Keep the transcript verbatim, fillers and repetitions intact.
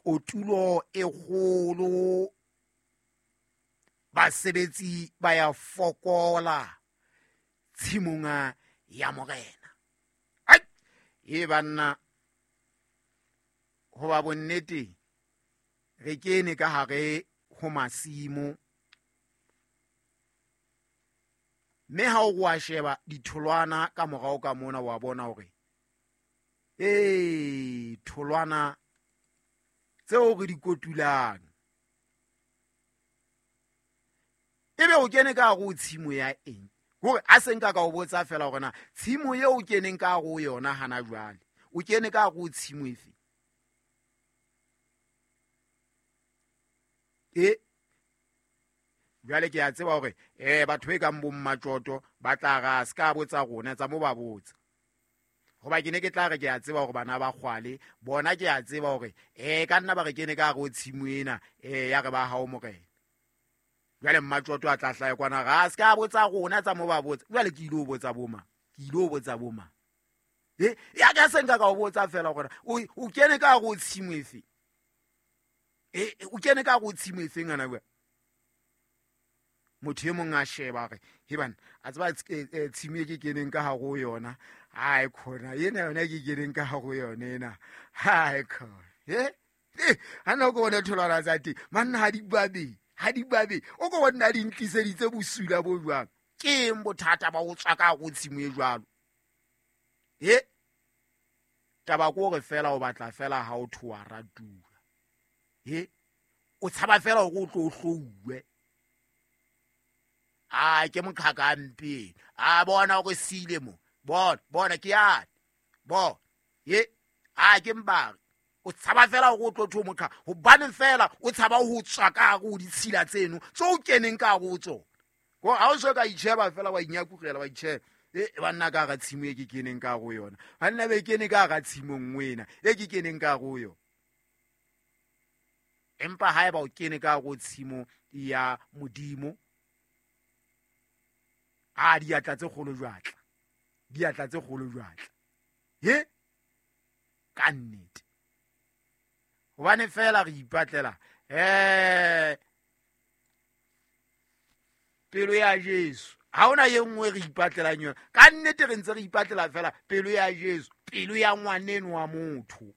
Kotulo e kgolo, basebetsi ba ya fokola tshimong ya morena. Ai, e banna, hoba bonnete re kene ka hare ho masimo, mme ha o wa sheba ditholwana ka morao ka mona, wa bona hore ee tholwana tseo re di kotulang ebe o kene ka hare ho tshimo ya eng? Hore a se nka ka o botsa fela hore na tshimo eo o keneng ka hare ho yona hana jwale, o kene ka hare ho tshimo efe? E jwale ke a tseba hore eh batho e kang bo Mmatjoto ba tla ra se ka botsa rona tsa mo ba botsa. Hoba ke ne ke tla re ke a tseba hore bana ba kgwale bona, ke a tseba hore eh ka nna ba re kene ka hare ho tshimo ena eh ya re ba hao morena. Jwale Mmatjoto a tla hlaha kwana ra se ka botsa rona tsa mo ba botsa. Jwale ke ile ho botsa boma, ke ile ho botsa boma. E ya ka se nka ka o botsa fela hore o o kene ka hare ho tshimo efe? E o kene ka hare ho tshimo efe ngwana bua? Motho e mong a sheba re he bana, a tseba tshimo e ke keneng ka hare ho yona, ai khona ena yona ke keneng ka hare ho yona ena, hai khona he ha nna ko bona tholwana tsa teng manna ha di babe, ha di babe, o ko bona di ntliseditse bosula bo jwang. Ke eng bothata ba ho tswa ka hare ho tshimo e jwalo? He taba ko re fela o batla fela ha o thoa ratuwa, he o tshaba fela hore o tlo hlouwe. A ke moqhaka mpe, a bona hore sile mo, bona bona ke yane, bona ye a ke mbare. O tshaba fela hore o tlo tho moqhaka, hobane fela o tshaba ho tswa ka hare ho ditshila tseno tse o keneng ka hare ho tsona. Ko ha o so ka itjheba fela wa inyakugela wa itjheba, e banna ka hara tshimo e ke keneng ka hare ho yona, banna be kene ka hara tshimo nngwe ena e ke keneng ka hare ho yona. Empa haeba o kene ka hare ho tshimo ya Modimo, a diatla tse kgolo jwatla, diatla tse kgolo jwatla, he ka nnete. Hobane fela re ipatlela eh pelo ya Jesu, ha hona e nngwe re ipatlelang yona. Ka nnete re ntse re ipatlela fela pelo ya Jesu, pelo ya ngwaneno wa motho.